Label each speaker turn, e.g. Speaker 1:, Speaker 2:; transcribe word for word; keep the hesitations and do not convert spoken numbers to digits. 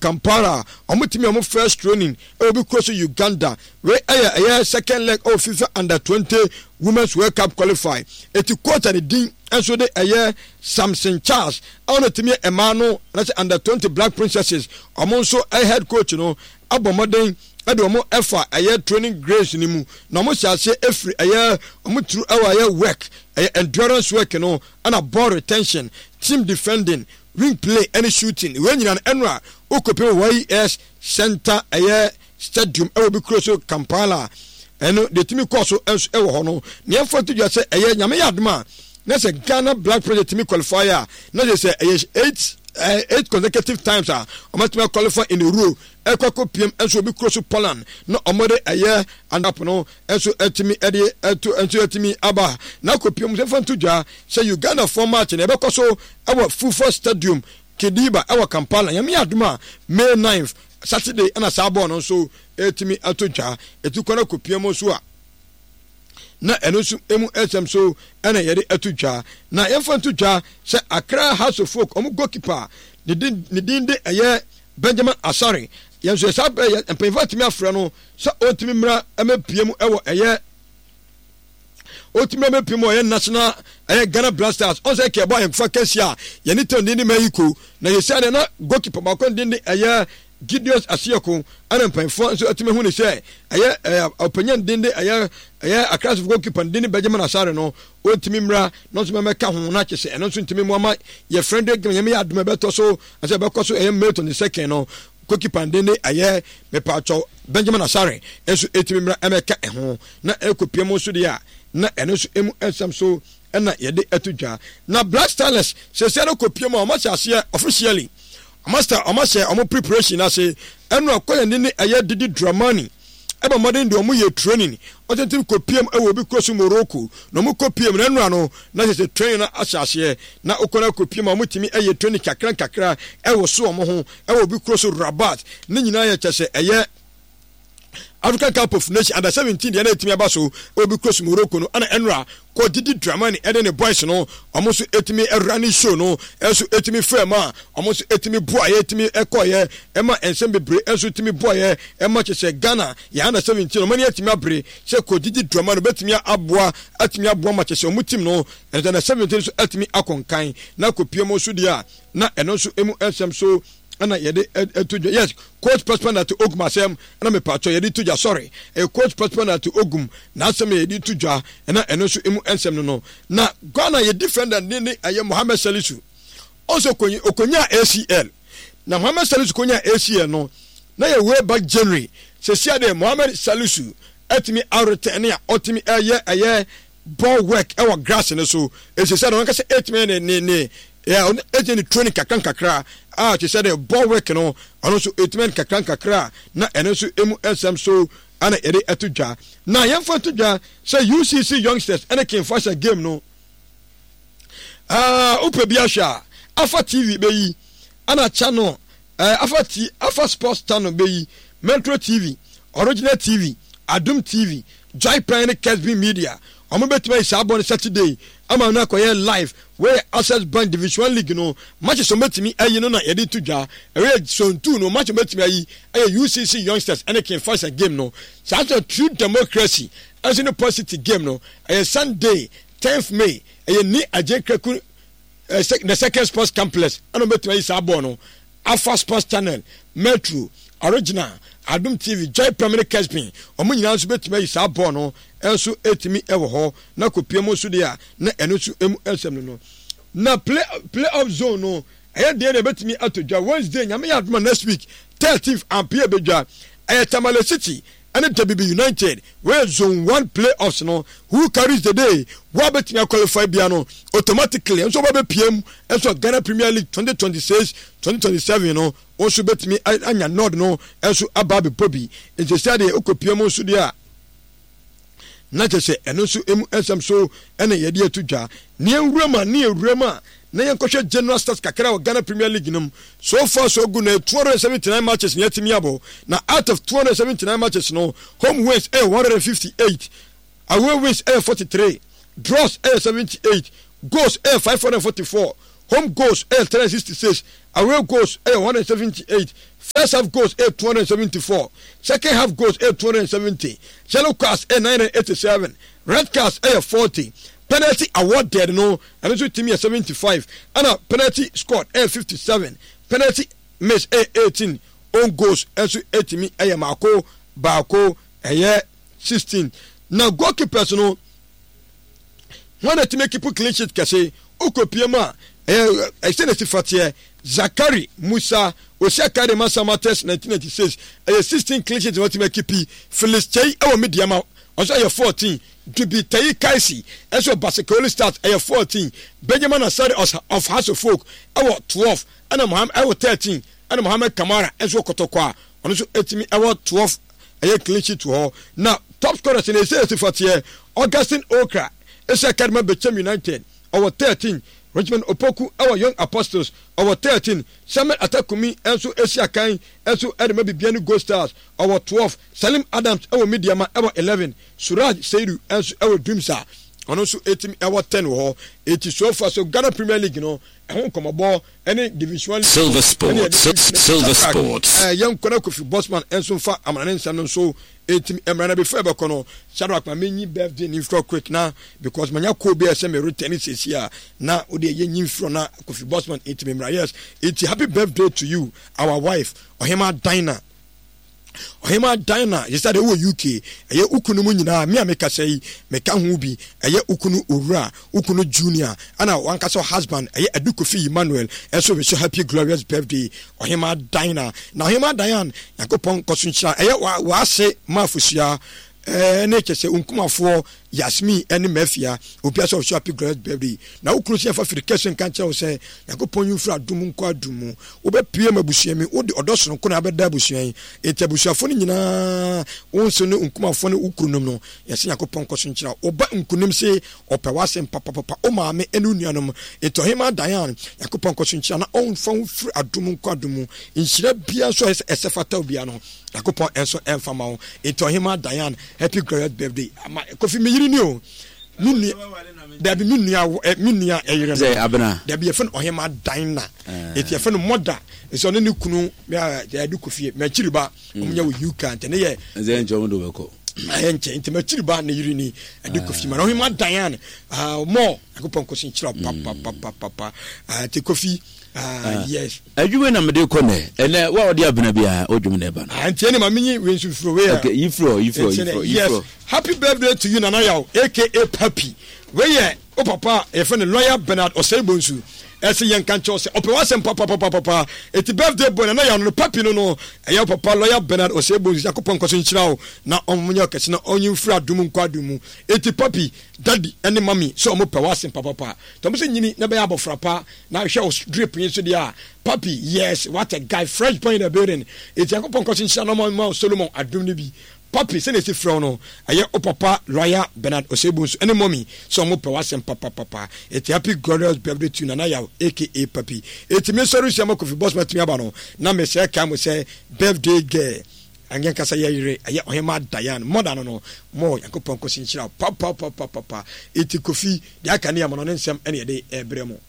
Speaker 1: Kampala. Ɔmo tumi ɔmo first training ɛwɔ bi kuro so Uganda. Wei ɛyɛ ɛyɛ second leg ɛwɔ FIFA Under twenty Women's World Cup qualify. Eti coach a ne din nso de ɛyɛ Samson Charles a ɔno tumi yɛ mmaa no anaasɛ Under twenty Black Princesses ɔmo nso ɛyɛ head coach no abɔ mmɔden ɛde ɔmo ɛfa ɛyɛ training grace no mu, na ɔmo hyɛ aseɛ efiri ɛyɛ ɔmo turu ɛwɔ ɛyɛ work, ɛyɛ endurance work no, ɛna ball retention, team defending, wing play ɛne shooting. Wei nyinaa no ɛno a wokɔpem Y S Center, ɛyɛ stadium ɛwɔ bi kuro so Kampala. Ɛno deɛ tumi kɔɔ so nso ɛwɔ hɔ no, nea ɛmfa to dwa sɛ ɛyɛ Nyame yɛ adom a na sɛ Ghana Black Project tumi qualify a, na kyerɛ sɛ ɛyɛ eight uh, eight consecutive times a ɔmatumi qualify in a row ɛkɔ akɔpiem nso obi kuro so Poland na ɔmɔde ɛyɛ andap no nso ɛtumi ɛde ɛto nso ɛtumi aba na akɔpiem nso. Ɛmfa nto dwa sɛ Uganda fɔ match na ɛbɛkɔ so ɛwɔ Fufa Stadium Kidiba ɛwɔ Kampala. Nyame yɛ adom a, May ninth, Saturday, ɛna saa bɔɔl no nso ɛtumi ato dwa. Ɛtu kɔ no akɔpiem nso a, na ɛno nso emu ɛsɛm so ɛna yɛde ato dwa. Na yɛmfa nto dwa sɛ Accra Hearts of Oak ɔmo goalkeeper ne din ne din de ɛyɛ Benjamin Asare. Yɛn nso yɛ saa bɛyɛ mpanyinfoɔ atumi afrɛ no sɛ ɔntumi mmra ɛmɛpie mu ɛwɔ ɛyɛ ɔtumi ɛmɛpie mu ɛyɛ national ɛyɛ Ghana Black Stars. Ɔn sɛ kɛbɔ ayɛnkofa kɛse a yɛne tɛn din de Mexico na yɛsi adeɛ na goalkeeper baako ne din de ɛyɛ Gideon Asiako, ɛna mpanyinfoɔ nso atumi hu ne sɛ ɛyɛ ɛyɛ ɔpanyin din de ɛyɛ ɛyɛ Accra goalkeeper din de Benjamin Asare no, ɔntumi mmra na nso mɛmɛka ho na kyɛ sɛ ɛno nso ntumi mu ama yɛ friendly game. Yɛn yɛ adum ɛbɛtɔ so ɛsɛ ɛbɛkɔ so ɛyɛ May twenty second no, goalkeeper din de ɛyɛ mepatwɔ Benjamin Asare nso ɛtumi mmra ɛmɛka ɛho na ɛkɔ pie mu nso deɛ a, na ɛno nso emu nsɛm so ɛna yɛde ɛto dwa. Na Black Stars sɛsɛ no kɔ pie mu a, ɔmo ahyɛ aseɛ officially, ɔmo ahyɛ ɔmo ahyɛ ɔmo preparation ase. Ɛno akɔyɛ ne ne ɛyɛ Didi Dramani ɛbɛ mmɔden deɛ ɔmo yɛ training ɔtɛntɛm kɔ piem ɛwɔ obi kuro so Morocco, na ɔmo kɔ piem na ɛnura no na kyerɛ sɛ training no ahyɛ aseɛ na okɔ no akɔ piem a, ɔmo tumi ɛyɛ training kakra nkakra ɛwɔ so ɔmo ho ɛwɔ obi kuro so Rabat. Ne nyinaa yɛ kyɛ sɛ ɛyɛ African Cup of Nations Under seventeen deɛ na ɛtumi aba so obi kuro so Morocco no. Ɛna ɛnura kɔ Didi Dramani ɛde ne boys no, ɔmo nso ɛtumi ɛwura ne show no ɛnso ɛtumi fɛ mu a, ɔmo nso ɛtumi boayɛ, ɛtumi ɛkɔyɛ ɛma nsɛm bebree ɛnso ɛtumi boayɛ ɛma kyɛ sɛ Ghana yɛ Under seventeen ɔmo ani ɛtumi abere sɛ kɔ Didi Dramani bɛtumi aboa, ɛtumi aboa ma kyɛ sɛ ɔmo team no ɛnso Under seventeen nso ɛtumi akɔ nkan na kɔ pie mu nso deɛ a, na ɛno nso emu nsɛm so ɛna yɛde ɛto dwa. Yes, Coach Prosper Narteh Ogum asɛm ɛna mepatwɔ yɛde to dwa. Sorry, ɛyɛ Coach Prosper Narteh Ogum n'asɛm yɛ yɛde to dwa, ɛna ɛno nso emu nsɛm no no Na Ghana yɛ defender ne ne ɛyɛ Mohammed Salisu. Ɔnso okonya okonya A C L, na Mohammed Salisu konya A C L no na yɛ way back January. Sɛsia de Mohammed Salisu ɛtumi aretɛn ne a ɔtumi ɛyɛ ɛyɛ ball work ɛwɔ grass no so. Esisi a wɔn kasa ɛtumi ne ne ne yɛ ɛtumi ne training kakra nkakra a kyerɛ sɛ de ball work no, ɔno nso ɛtumi ne kakra nkakra, na ɛno nso emu nsɛm so ɛna yɛde ɛto dwa. Na yɛmfa to dwa sɛ U C C Youngsters ɛne King Faisal game no, aa wopɛ bi ahwɛ a, Afa T V bɛyi, ɛna channel ɛɛ Afa T Afa Sports Channel bɛyi, Metro T V, Original T V, Adum T V, Joy Prime ne Kesbi Media, wɔn bɛtumi ayi saa bɔ no Saturday ama no akɔyɛ live. Wɔyɛ Access Bank Division One League no matches wɔn bɛtumi ayi no na yɛde to dwa. Ɛyɛ zone two no match wɔn bɛtumi ayi ɛyɛ U C C Youngsters ɛne King Faisal game no. Saa nso True Democracy ɛnso ne Port City game no ɛyɛ Sunday tenth May, ɛyɛ Nii Adjei Kraku ɛɛ the Second Sports Complex ɛna wɔn bɛtumi ayi saa bɔɔl no. Alpha Sports Channel, Metro, Original, Adum T V, Joy Prime ne Kesbin, wɔn nyinaa nso bɛtumi ayi saa bɔɔl no nso ɛtumi ɛwɔ hɔ na kɔpie mu nso deɛ a, na ɛno nso emu nsɛm no no Na play play off zone no ɛyɛ deɛ na ɛbɛtumi ato dwa Wednesday, Nyame yɛ adoma, next week thirteenth ampie bɛdwa, ɛyɛ Tamale City ɛne W B United. Wɔyɛ zone one play offs no. Who carries the day, wo a bɛtumi aqualify bia no automatically nso wɔbɛpie mu nso Ghana Premier League twenty twenty-six twenty twenty-seven no, wɔn nso bɛtumi anya nod no nso aba abɛbɔ bi. Nti sɛ deɛ wokɔpie mu nso deɛ a, na kyerɛ sɛ ɛno nso emu nsɛm so ɛna yɛde ato dwa. Ne nwura mu a, ne nwura mu a, na yɛnkɔhwɛ general stats kakra wɔ Ghana Premier League no mu. So far so good, na two hundred seventy-nine matches na yɛatumi abɔ, na out of two hundred seventy-nine matches no, home wins ɛyɛ one hundred fifty-eight, away wins ɛyɛ forty-three, draws ɛyɛ seventy-eight, goals ɛyɛ five hundred forty-four. Home goals ɛyɛ three hundred sixty six, away goals ɛyɛ one hundred seventy eight, first half goals ɛyɛ two hundred seventy four, second half goals ɛyɛ two hundred seventy, yellow cards ɛyɛ nine hundred eighty seven, red cards ɛyɛ forty, penalty awarded no ɛno nso tumi yɛ seventy five, ɛna penalty scored ɛyɛ fifty seven, penalty miss ɛyɛ eighteen, own goals nso ɛtumi ɛyɛ mako baako ɛyɛ sixteen. Na goalkeepers no, wɔn na ɛtumi keep clean sheet kɛse. Wokɔpie mu a, ɛyɛ ɛsɛ na si fateɛ. Zakari Musa osi akade ma Samatex nineteen ninety six, ɛyɛ sixteen clean sheet na wɔtumi akipi. Felix Kyei ɛwɔ Medeama, ɔnso ɛyɛ fourteen. Dubi Tayi Kaisi ɛnso wɔ Basake Holy Stars, ɛyɛ fourteen. Benjamin Asare of House of Folk ɛwɔ twelve, ɛna Mohammed ɛwɔ thirteen, ɛna Mohammed Kamara ɛnso wɔ Kɔtɔkɔ a ɔno nso ɛtumi ɛwɔ twelve ɛyɛ clean sheet wɔ hɔ. Na top scorers no ɛsɛ esi fateɛ. Augustine Okra ɛsi akade ma Bechem United, ɔwɔ thirteen. Richmond Opoku ɛwɔ Young Apostles, ɔwɔ thirteen. Samuel Atakumi nso esi akan nso ɛde ma Bibiani Gold Stars, ɔwɔ twelve. Salim Adams ɛwɔ Medeama ɛwɔ eleven. Suraj Seidu nso ɛwɔ Dreams a ɔno nso ɛtumi ɛwɔ ten wɔ hɔ. Eti so far so Ghana Premier League no ɛho nkɔmɔbɔ ɛne Division One League
Speaker 2: Silver Sports, Silver Sports.
Speaker 1: Ɛɛ yɛn nkɔ na Kofi Bosman nso nfa amana ne nsɛm no nso ɛtumi mmra. Na before ɛbɛkɔ no, Shadrack, ma menyi birthday ne mfirɔ quick na because manya call bi a ɛsɛ me return sɛsi a na wode ɛyɛ nyi mfirɔ na Kofi Bosman ɛtumi mmra. Yes, ɛti happy birthday to you, our wife Ɔhema Dina. Ɔhema Dina, yɛsɛ de wɔ U K, ɛyɛ ukunu mu nyinaa, me a mekasa yi meka ho bi, ɛyɛ ukunu owura, ukunu Junior, ɛna wankasa husband ɛyɛ Adu Kofi Emmanuel ɛnso wish happy glorious birthday Ɔhema Dina. Na Ɔhema Diane, Nyankopɔn nkɔ so nhyira ɛyɛ waase maafosua ɛne kyɛ sɛ nkumafoɔ Yasmin ɛne Mafia, obia sɛ ɔhyɛ happy glorious birthday. Na wo kunu sɛ yɛfa firi kɛse nka nkyerɛ wo sɛ Nyankopɔn yi mfiri adom nkɔ adom mu. Wobɛpue ma abusua mi, wode ɔdɔ sononko na abɛda abusua yi. Enti abusuafoɔ no nyinaa, wo nso ne nkumafoɔ ne wo kununom no, yɛsɛ Nyankopɔn nkɔ so nkyerɛ wo. Woba nkonim se ɔpɛ w'asɛm papapapa, wo maame ne wo nuanom. Enti Ɔhema Diane, Nyankopɔn nkɔ so nkyerɛ na ɔmfa wo firi adom nkɔ adom mu. Nhyira biara nso a ɛsɛ fata wo biara no, Nyankopɔn nso ɛmfa ma wo. Enti Ɔhema Diane, happy glorious birthday. Ama Kofi, me yere ni o. Me nua, dabi, me nua, me nua ɛyere no.
Speaker 3: Sɛ Abena.
Speaker 1: Dabi, yɛfɛ no Ɔhema Dina. Eti yɛfɛ no mɔda. Nso ɔne ne kunu yɛde Kofi m'akyiri ba. Ɔmo nyɛ wɔ U K nti ne yɛ.
Speaker 3: Ɛsɛ nkyɛn ɔmo de ɔbɛkɔ.
Speaker 1: Ayɛ nkyɛn nti m'akyiri ba ne yere ni ɛde Kofi ma na Ɔhema Diane mɔ Nyankopɔn kɔ so nkyerɛ papapapapa. Nti Kofi, yes.
Speaker 3: Adwuma na mede kɔ nɛ ɛnɛ wa ɔde Abena biara odwum na ɛba no.
Speaker 1: Nti ɛne ma menyi wei nso firi wei.
Speaker 3: Okay, yi firi hɔ, yi firi hɔ, yi firi hɔ.
Speaker 1: Yes, happy birthday to you, Nana Yaw A K A Papi. Wei yɛ o papa a yɛfrɛ no Lawyer Bernard Osei Bonsu, ɛsɛ yɛn ka nkyɛw sɛ ɔpɛ w'asɛm papapapapa. Eti birthday boy Nana Yaw no no Papi no no ɛyɛ o papa Lawyer Bernard Osei Bonsu. Yakopɔn nkɔ so nhyira wo na ɔnyɛ ɔkɛse na ɔnyi mfiri adum nkɔ adum mu. Eti Papi, daddy ɛne mummy sɛ ɔmo pɛ w'asɛm papapa tɔm sɛ nyini na bɛyɛ abɔfra pa na hwɛ wo drip yi nso deɛ a, Papi, yes, what a guy, fresh boy in the building. Eti Yakopɔn nkɔ so nhyira na ɔmo ma Solomon adum no bi. Papi, sɛnea esi frɛ wo no, ɛyɛ o papa Lawyer Bernard Osei Bonsu ɛne mummy sɛ ɔmo pɛ w'asɛm papapapa. Eti happy glorious birthday to you, Nana Yaw A K A Papi. Eti me nsɔre sua ma Kofi Bosman atumi aba no na mesrɛ kae mo sɛ birthday girl anyɛ nkasa yɛ yere ɛyɛ Ɔhema Diane mɔda no no mo Nyankopɔn kɔsi nhyira papapapapa. Eti Kofi deɛ aka ne yɛ no ne nsɛm ɛne yɛde ɛbrɛ mo.